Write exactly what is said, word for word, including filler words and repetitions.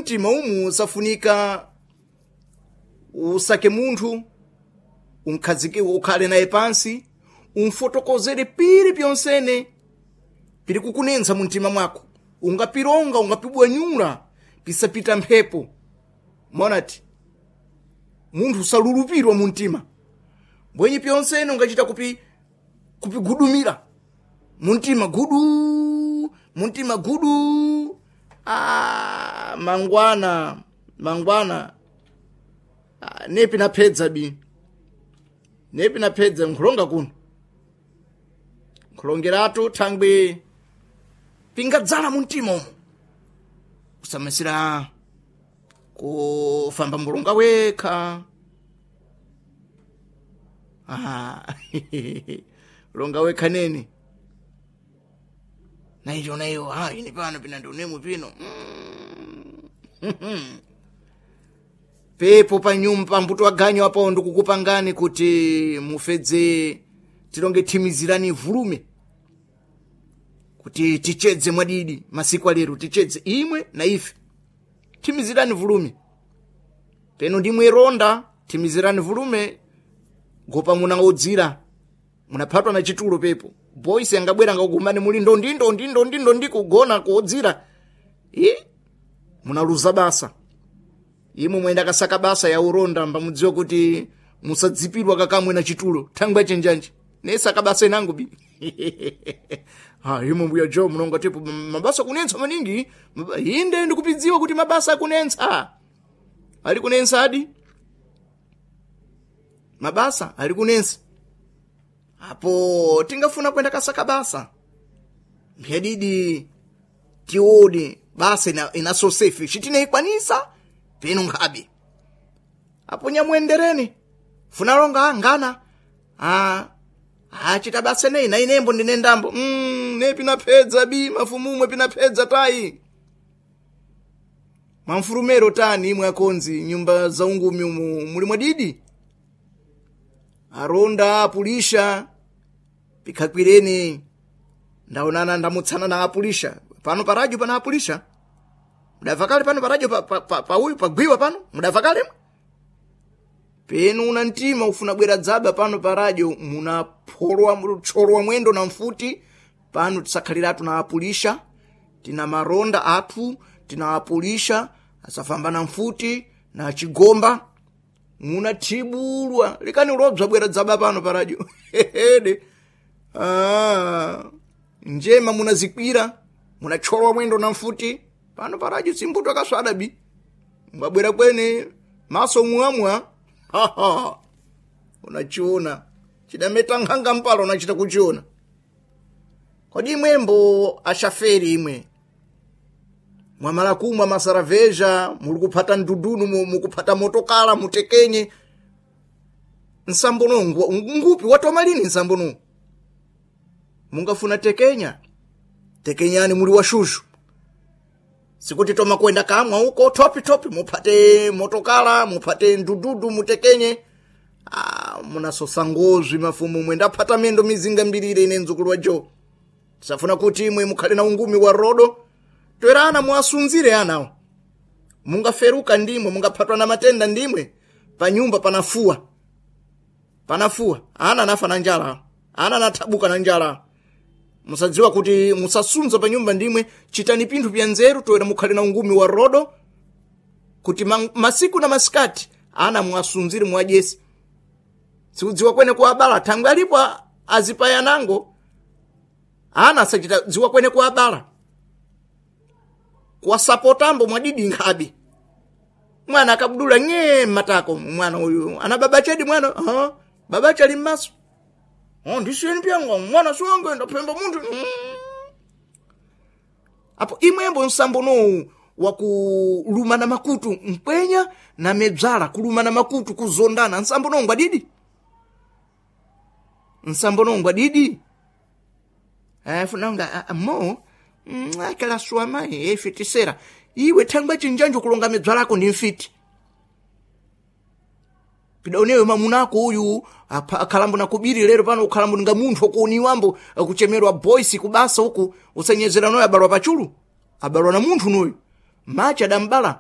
Muntima umu safunika usake munthu unkhazike ukhale naye pansi umfotokozere pili pyonsene pili kukunensa muntima mwako ungapilonga ungapibwanyula pisapita mphepo monati munthu usalulupirwa muntima mbwenyi pyonsene ungachita kupi kupigudumira muntima gudu muntima gudu ah, mangwana mangwana ah, nepi naphedza bi nepi naphedza nkhulonga kuno nkhulongeratu thangwi pingadzala muntima umo usamasira kufamba mbulunga wekha ah, longa wekha nene naicho naiyo ah, ine pano pina ndionemo pino mm. pepo pa nyumba mbuto waganyu apo ndikukupangani kuti mufedze tilonge thimizirani vulume kuti tichedze mwadidi masiku alero tichedze imwe na ife thimizirani vulume peno ndimwe ronda thimizirani vulume gopa munaodzira munaphatwa na chitulo pepo boys angabwera ngakugumani muli ndondi ndondi ndondi ndondi kugona kuodzira i munaluza basa imwe mwenda kasaka basa ya uronda mbamudziwa kuti musadzipidwa kakamwe na chitulo thangwi achenjanji nesaka basa inangu bi ha imwe mbuya jo munonga tepo mabasa kunensa maningi Maba- inde ndikupidziwa kuti mabasa akunensa ali kunensa adi mabasa ali kunensa apo tingafuna kwenda kasaka basa mphedidi tione basa ina, inaso safe chitinaikwanisa peno nkhabe apo nyamwendereni funalonga ngana ah achita basa nei na inembo ndine ndambo mm, ne pinaphedza bi mafumumwe pinaphedza tayi mwamfurumero tani imwe akonzi nyumba za ungumi umu muli mwadidi aronda apulisha pikhakwireni ndaonana ndamutsana na apulisha pano paradio pana apulisha mudabva kale pano paradio pa, pa, pa, pa uyu pagwiwa pano mudabva kale penu una mtima ufuna bwera dzaba pano paradio munapholwa tcholowa mwendo na mfuti pano tisakhaliratu na apulisha tina maronda athu tina apulisha asafamba na mfuti na chigomba munathibulwa likani ulobza bwera dzaba pano paradio hehede ah, njema munazikwira munatcholowa mwendo na mfuti pano paradio simbuto akaswada bi mbabwera kwene maso mwamwa haha unachiona chidameta nkhanga mpalo unachita kuchiona kodi imwembo ashaferi imwe mwamala kumwa masaraveja muli kuphata ndudunu mu- mukuphata motokala mutekenye nsambono ngupi watoma lini nsambono mungafuna tekenya tekenyani muli washushu sikuti toma kwenda kamwa uko topi topi muphate motokala muphate ndududu mutekenye ah, munasosa ngozwi mafumu mwe ndaphata mendo mizinga mbirire ine mdzukulu wa jo tisafuna kuti imwe mukhale na ungumi wa rodo toera ana muwasunzire anawo mungaferuka ndimwe mungaphatwa na matenda ndimwe panyumba panafuwa panafuwa ana anafa na njala ana anathabuka na njala musadziwa kuti musasunza pa nyumba ndimwe chitani pinthu pya nzeru toera mukhale na ungumi wa rodo kuti ma- masiku na masikati ana muwasunzire muwadyese sikudziwa kwene kuwabala thangwi alipo a- azipayanango ana asachita dziwa kwene kuwabala kuwasapotambo mwadidi nkhabe mwana akabudula ng'ee mmatako mwana uyu ana baba chedi mwana uh, baba chali mmaso oh, ndisiyeni pyanga mwana siwange ndaphemba munthu mm. apo imwembo nsambonowu wakulumana makutu mpwenya na medzala kulumana makutu kuzondana nsambonowu ngwadidi nsambonowu ngwadidi eh, funanga ah, mo mm, akala suamayi efitisera iwe thangwa chinjanjo kulonga medzwa lako ndi mfiti pidaonewe mamunako uyu apa- akhalambo nakubiri lero pano ukhalambo ninga munthu okuuniwambo akuchemerwa boys kubasa uku usanyezera noyo abalwa pachulu abalwa na munthu noyu machi adambala